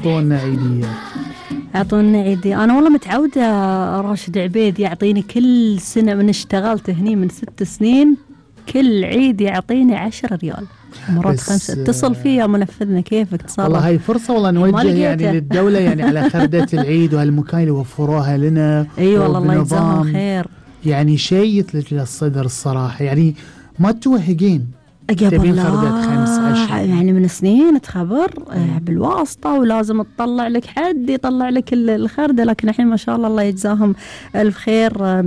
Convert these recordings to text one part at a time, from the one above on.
اعطونا عيدية. اعطونا عيدية. انا والله متعودة راشد عبيد يعطيني كل سنة من اشتغلت هني من 6 سنين، كل عيد يعطيني 10 ريال، مرات 5. اتصل فيه يا منفذنا كيفك تصرف. والله هاي فرصة والله نوجه يعني للدولة يعني على خردة العيد وهالمكان اللي وفروها لنا. اي والله الله يجزاهم خير. يعني شيء يثلج للصدر الصراحة، يعني ما توهقين تبين خردة 5 يعني من سنين تخبر بالواسطة ولازم تطلع لك حد يطلع لك الخردة، لكن الحين ما شاء الله الله يجزاهم ألف خير،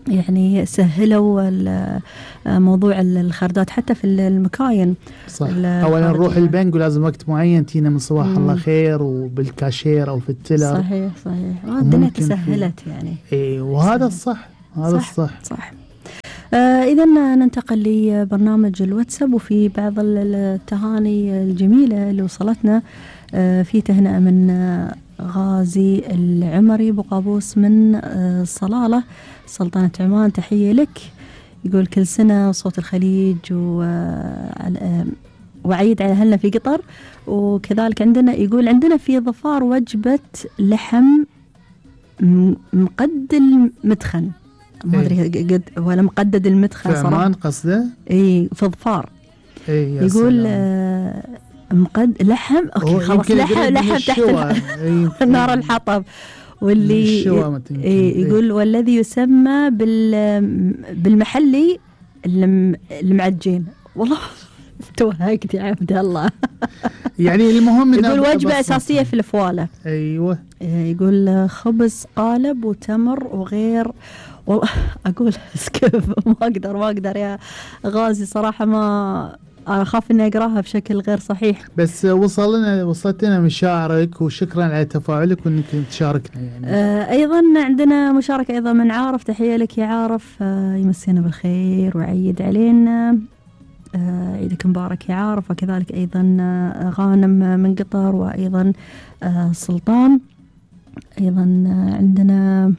يعني سهلوا موضوع الخردات حتى في المكاين. صح. أولا نروح البنك ولازم وقت معين تينا من صباح الله خير وبالكاشير أو في التلر. صحيح الدنيا تسهلت يعني. إيه وهذا الصح، هذا صح. إذا ننتقل لبرنامج الواتساب، وفي بعض التهاني الجميلة اللي وصلتنا. في تهنئة من غازي العمري بقابوس من صلالة سلطنة عمان، تحية لك. يقول كل سنة صوت الخليج وعيد على أهلنا في قطر. وكذلك عندنا يقول عندنا في ظفار وجبة لحم مقد المدخن، ما أدري قد ولا مقدد المدخن صراحة. في عمان قصده؟ إيه في ظفار. إيه يقول مقد لحم. أوكي خلاص لحم تحت نار الحطب. واللي يقول والذي يسمى بالمحلي المعجين. والله توهقت يا عبد الله. يعني المهم يقول وجبة أساسية في الفوالة. أيوة. يقول خبز قالب وتمر وغير. والله أقول سكيب ما أقدر يا غازي صراحة، ما أنا أخاف إني أقراها بشكل غير صحيح. بس وصلتنا مشاعرك، وشكرا على تفاعلك وإنك تشاركنا يعني. أيضا عندنا مشاركة أيضا من عارف، تحية لك يا عارف. يمسينا بالخير ويعيد علينا. عيدك مبارك يا عارف. وكذلك أيضا غانم من قطر، وأيضا سلطان. أيضا عندنا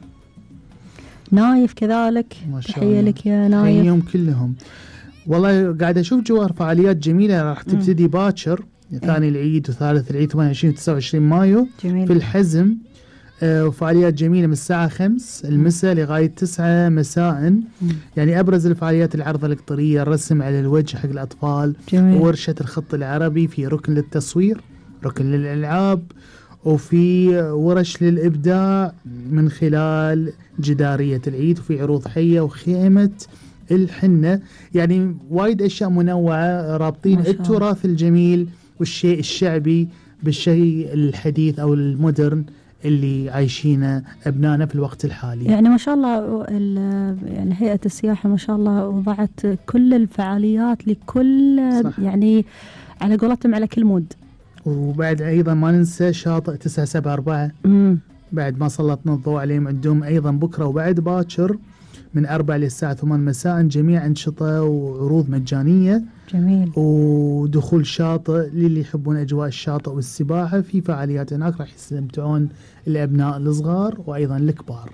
نايف كذلك، تحية لك يا نايف. يوم كلهم والله قاعد أشوف جوار فعاليات جميلة راح تبتدي باكر، ثاني العيد وثالث العيد 28 و29 مايو جميل. في الحزم. وفعاليات جميلة من الساعة 5 المساء لغاية 9 مساء. يعني أبرز الفعاليات العرض القطرية، الرسم على الوجه حق الأطفال، وورشة الخط العربي، في ركن للتصوير، ركن للألعاب، وفي ورش للإبداع من خلال جدارية العيد، وفي عروض حية وخيمة الحنة. يعني وايد أشياء منوعة رابطين التراث الجميل والشيء الشعبي بالشيء الحديث أو المودرن اللي عايشينه أبنائنا في الوقت الحالي. يعني ما شاء الله يعني هيئة السياحة ما شاء الله وضعت كل الفعاليات لكل صح. يعني على قولتهم على كل مود. وبعد أيضا ما ننسى شاطئ 974 بعد ما سلطنا الضوء عليهم، عندهم أيضا بكرة وبعد باكر من 4 للساعة 8 مساء جميع أنشطة وعروض مجانية. جميل. ودخول شاطئ للي يحبون أجواء الشاطئ والسباحة. في فعاليات هناك راح يستمتعون الأبناء الصغار وأيضا الكبار.